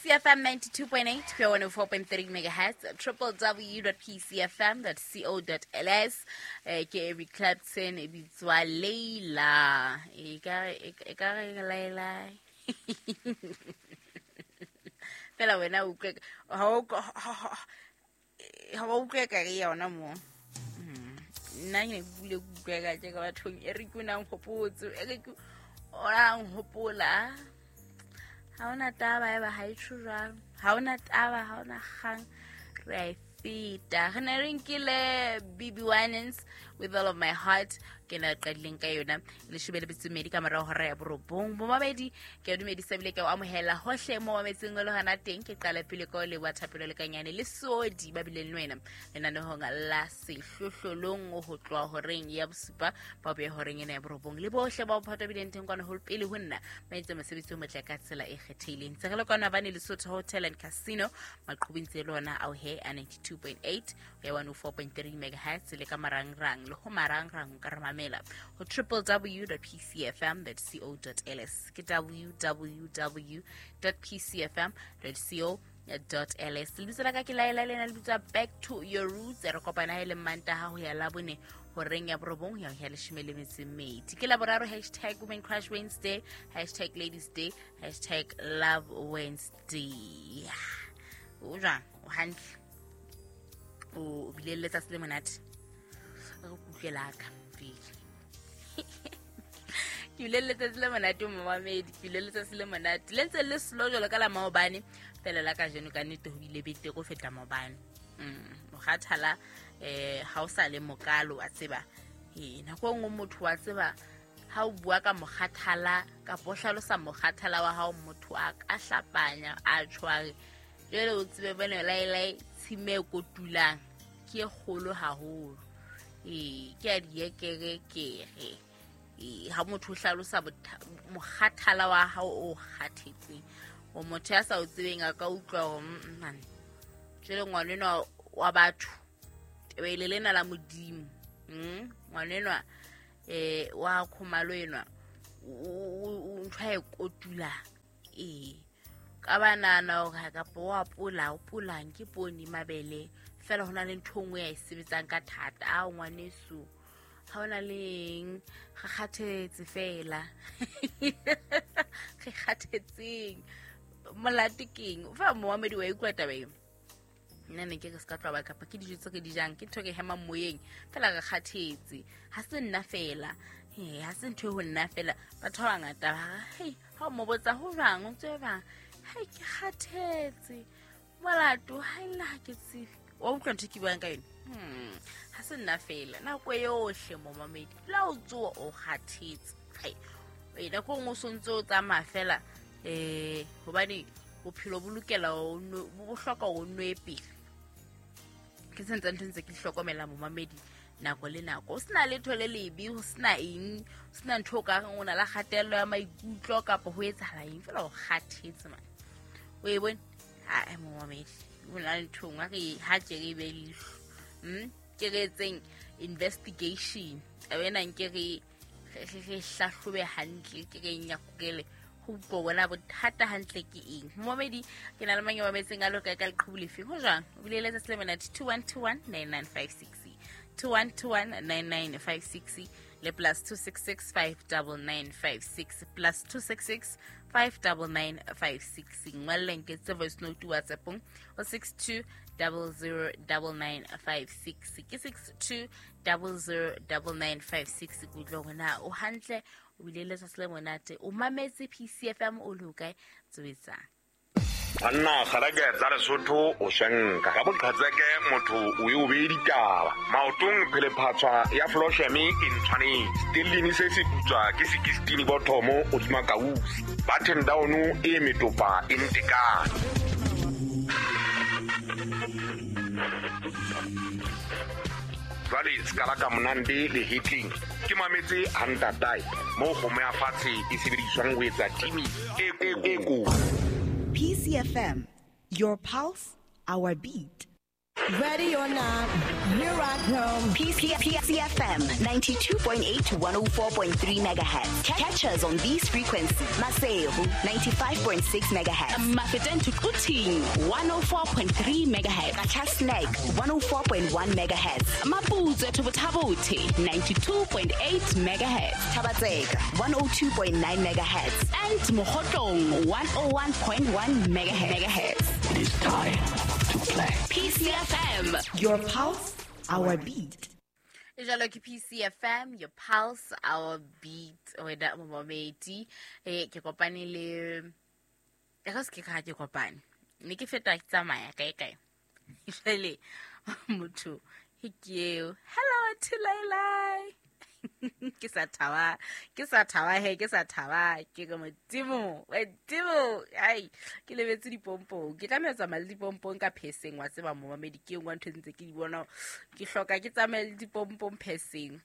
PCFM 92.8 go ya 104.3 megahertz, www.pcfm.co.ls. Ke Eric Clapton, e bitswa Leila. E ka re Leila fela wena o utlwe ha o utlwe ka re yona mo. Nna ke ne ke bule ke utlwe ka tje ka bathong. Eric o nang hopotse, Eric o nang hopola. Ha ona taba eba ha e tjho jwalo, ha ona taba, ha ona kgang, re a e feta. Re ne re nkile BB Winans, With All of My Heart, ke na qadileng ka yona 12 ka morao hora ya 9. Momamedi, ke a dumedisa ebile ke o amohela hohle mo mametseng o le hona teng. Ke qala pele ka o leboha Thapelo Lekanyane le Sodi ba bileng le wena lenanehong la Sehlohlolong ho tloha horeng ya 7 ba boya horeng ena ya 9, le bohle ba bophato bileng teng kwana ho pele ho nna ba entse mosebetsi o motle ka tsela e kgethehileng. Tse re le kwana bane Lesotho Hotel and Casino maqhubing tse le ona ao he a 92.8 ya 104.3 megahertz, le ka marangrang le ho marangrang ka re mamela ho www.pcfm.co.ls, ke www.pcfm.co.ls. Lebitso la ka ke Laela, lena le bitswa Back to Your Roots. Re kopana e le Mantaha ho ya Labone horeng ya 9 ya ho ya 12. Ke Laboraro, hashtag Women Crush Wednesday, hashtag Ladies Day, hashtag Love Wednesday. O jwang? O hantle? O bile le letsatsi le monate? Re kutlwe laka pele. Ke bile le letsatsi le monate, momamedi, ke bile le letsatsi le monate, le ntse le slow jwalo ka la maobane, fela la kajeno ka nnete ho bile betere ho feta maobane. Mokgathala ha o sa le mokalo, wa tseba. Nako e nngwe motho wa tseba ha o bua ka mokgathala kapa o hlalosa mokgathala wa hao, motho a ka hlapanya a tshware. Jwale o tsebe bone laelae tshimo e kotulang ke e kgolo haholo. Ke a diekerekere. Ha motho o hlalosa mokgathala wa hao o kgathetseng, o motho ya sa o tsebeng a ka utlwa hore, man, jwale ngwanenwa wa batho, tebele lena la Modimo, ngwanenwa wa Khumalo enwa o ntho a e kotulang. Ka ba nahana hore ha kapa wa pola, o polang ke poone, mabele fela, ho na le ntho e nngwe ya e sebetsang ka thata. A ngwaneso, ha ona le eng, re kgathetse fela, re kgathetseng, molato keng fa? Moamedi, wa utlwa taba eo? Nna ne ke re se ka tloha ba kapa ke dijo tse re di jang, ke ntho e re hemang moyeng fela, re kgathetse. Ha se nna fela, ha se ntho e ho nna fela, batho ba bangata ba re, hei, ha o mo botsa ho jwang, o tswe bang, hei, ke kgathetse, molato ha e nna ha ke tsebe. Wa utlwa ntho e ke buang ka yone? Ha se nna fela, nako yohle momamedi, la o tsoa o kgathetse. Hai, nako e nngwe o sontse o tsamaya fela, hobane bophelo bo lokela bo hloka o nwe pele. Ke sentse ntho ntse ke hlokomela momamedi nako le nako, o sena letho le lebe, ho sena eng, ho sena ntho o ka reng o na le kgatello ya maikutlo kapa ho etsahala eng, fela o kgathetse man. O e bone? Ha momamedi, o na le ntho nngwe re ha tje re be leihlo. Ke re etseng investigation taba ena, nke re hlahlobe hantle, ke re nyakokele ho utlwa bona bothata hantle ke eng. Momamedi, ke na le mang ya mametseng a loka ka leqhubu lefe? Ho jwang? O bile letsatsi le monate. 2121 9956, 2121 9956, le +266 59956, +266 59956. Ngwalleng ke tse voice note WhatsAppong o 62 00 9956, ke 62 00 9956. Ke utlwe hore na o hantle, o bile letsatsi le monate, o mametse PCFM o le hokae, tsebetsang. Banna, kgareke tsa Lesotho o shenka ka boqhetseke, motho o e o beye ditaba maotong. Phelephatshwa ya flosheme e ntshwanetse stellini se se putswa ke sekistini bothomo hodima kausi button down e metopa e ntekane. Jwale se ka la ka monande lehetleng ke mametse hantatae moo kgomo ya fatshe e sebediswang ho etsa timi e kotsi. PCFM, your pulse, our beat. Ready or not, here I come. PCFM 92.8 to 104.3 megahertz. Catch us on these frequencies. Maseru 95.6 megahertz. Mafeteng to Quthing 104.3 megahertz. Qacha's Nek 104.1 megahertz. Maputswe to Botha-Bothe 92.8 megahertz. Thaba-Tseka 102.9 megahertz. And Mokhotlong 101.1 megahertz. It is time to play. PCFM. Your pulse, our beat. E jalo ke PCFM, your pulse, our beat. Wena momamedi, ke kopane le e ka se ke ka ke kopane. Ne ke feta ke tsamaya kae kae. Jwale motho ke eo. Hello Thilailai. Ke sa thaba, ke sa thaba he, ke sa thaba, ke re Modimo, Modimo, ai, ke lebetse dipompong. Ke tlameha ho tsamaya le dipompong ka pheseng, wa tseba momamedi, ke e nngwe ntho e ntse ke di bona, ke hloka ke tsamaye le dipompong pheseng.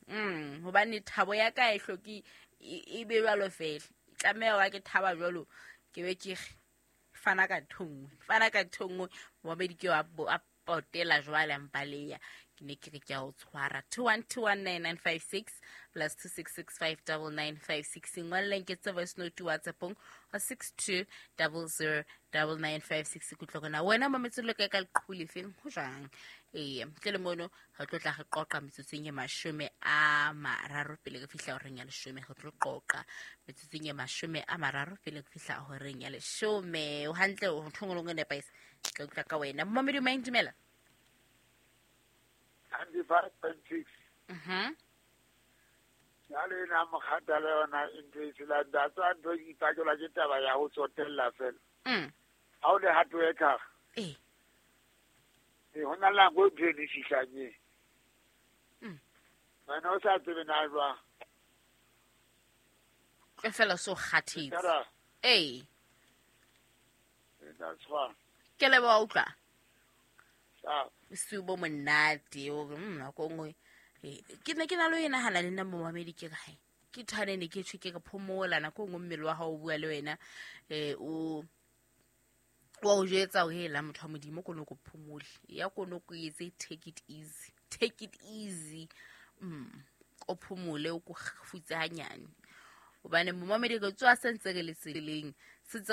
Hobane thabo ya ka e hloke e be jwalo fela. Tlameha wa ke thaba jwalo, ke be ke re fana ka ntho e nngwe, fana ka ntho e nngwe, momamedi ke wa a potela jwale a mpaleya. Ke ne ke re ke a o tshwara. 21219956 plus 26659956. Ngwalleng ke tse voice note WhatsApp-ong wa 62009956. Ke utlwa hore na wena mametse le kae ka leqhubu lefeng, ho jwang? Ee, ntle le mono re tlo tla re qoqa metsotsong e 30 pele re fihla horeng ya 10. Re tlo qoqa metsotsong e 30 pele re fihla horeng ya 10. O hantle, o ntho e nngwe le nngwe e nepahetse. Ke tla utlwa ka wena. Momamedi o mang, dumela. 95.6. Jwale ena mokgathala le yona e ntho e tshelang. Tsa ntho e ipakelwa ke taba ya ho tsotella fela. Ha o le hard worker. Ho na le nako e ntho eno e fihlang e. Wena o sa tsebe na jwang. E fela so kgathetse. Ee. That's why. Ke leboha utlwa. Bosiu bo monate o re nako nngwe ke ne ke na le ena hala le nna momamedi ke re hai ke thane ne ke tjho ke re phomola nako nngwe mmele wa hao o bua le wena o wa o jwetsa o hela motho wa Modimo ko no ko phomole ya ko no ko etse take it easy, take it easy. O phomole o ko futse hanyane hobane momamedi ke tswa sentse re le tseleng se